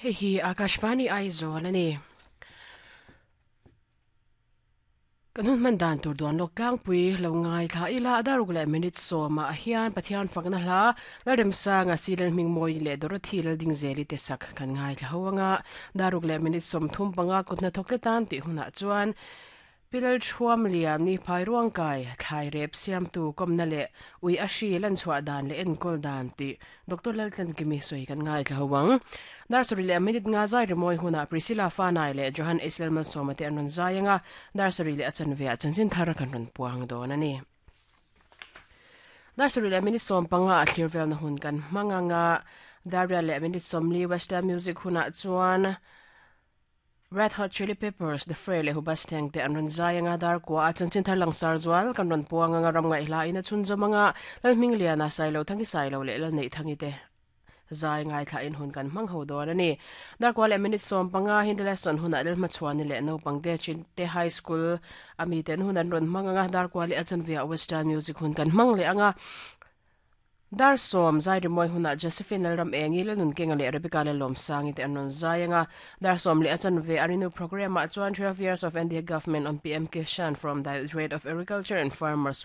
Hei hi Akashvani Aizawl a ni. Kan hun hman dan tur duan lawk tlangpui lo ngaithla ila a daruk leh minute sawmah hian Pathian fakna hla Lalremsanga Silal Hmingmawi leh Dorothy Laldingzeli te sak kan ngaithla ho anga daruk leh minute 35 kut hnathawk te tan tih hunah chuan Pi Lalṭhuam Lian ni phai ruangkai, thlai rep siamtu kawmna leh ui a hri lanchhuah dan leh enkawl dan tih Doctor Laltlankimi sawi kan ngaithla ho ang. Nursery leh a minute nga zai rimawi hunah Priscilla Fanai leh Johan H. Lalmalsawma te an rawn zai ang a, nursery leh a chanve ah chanchin thar kan rawn puang dawn a ni. Nursery leh minute 15 a thlir velna hun kan hmang ang a, Daria leh minute 40 Western Music hunah chuan Red Hot Chili Peppers, The Fray leh Hoobastank te an rawn zai anga dar kua a chanchin thar langsar zual kan rawn puang anga ram ngaihla in a chhunzawm anga Lalhmingliana, Sailothanghi Sailo leh Lalneihthanghi te zai ngaithla in hun kan hmang ho dawn a ni. Dar kua leh minute 15 Hindi lesson hunah Lalhmachhuani leh naupang te Chinte High School a miten hun an rawn hmang anga dar kua leh a chanve ah Western Music hun kan hmang leh anga Dar 10, Zai rimawi hunah Josephine Lalram Engi, Lalnunkenga leh Rebecca Lalawmsangi te an rawn zai ang a. Dar 10 leh a chanve a Renew Programme ah chuan 12 Years of NDA Government on PM Kishan from Directorate of Agriculture and Farmers.